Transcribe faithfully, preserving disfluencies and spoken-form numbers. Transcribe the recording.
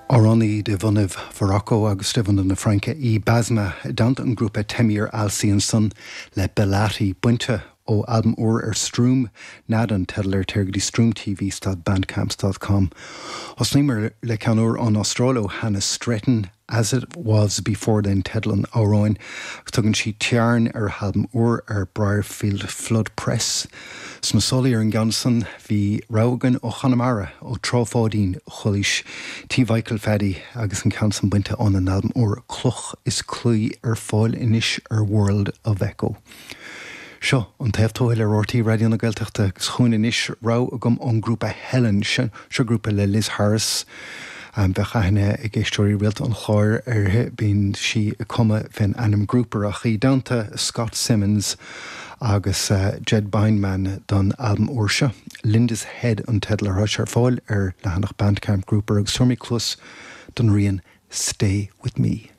Amhránaí de bhunadh Mharocco agus de bhunadh na Fraince í Basma i dteannta an grúpa Temir Alsi ansan le Belati bainte ó albam úr ar Stroom Nada an teideal air téir go dtí Stroom TV dot bandcamp dot com. Thosnaíomar le ceann úr ón Astráil ó Hannah Stretton, As It Was Before Then teideal an amhráin agus tugann sí Tearn ar a halbam úr ar Briarfield Flood Press. Sna sála ar an gceann san bhí rogha againn ó Chonamara ó Trá Pháidín Chulaois Tí Mhichael Phaddy agus an ceann san bainte óna n-albam úr Cloch is Claí ar fáil anois ar World of Echo. Seo an taobh tuathail ar RTÉ Raidió na Gaeltachta agus chugainn anois rogha agam ón grúpa Helen seo seo grúpa le Liz Harris. Um, bheadh aithne ag éisteoirí rialta an chláir uirthi bíonn sí ag cumadh fén ainm Grouper ach í i dteannta Scott Simmons agus uh, Jed Bindman don albam úr seo. Linda's Head an teideal atá ar fáil ar leathanach Bandcamp Grouper agus tabharfaidh muid cluas don rian Stay With Me.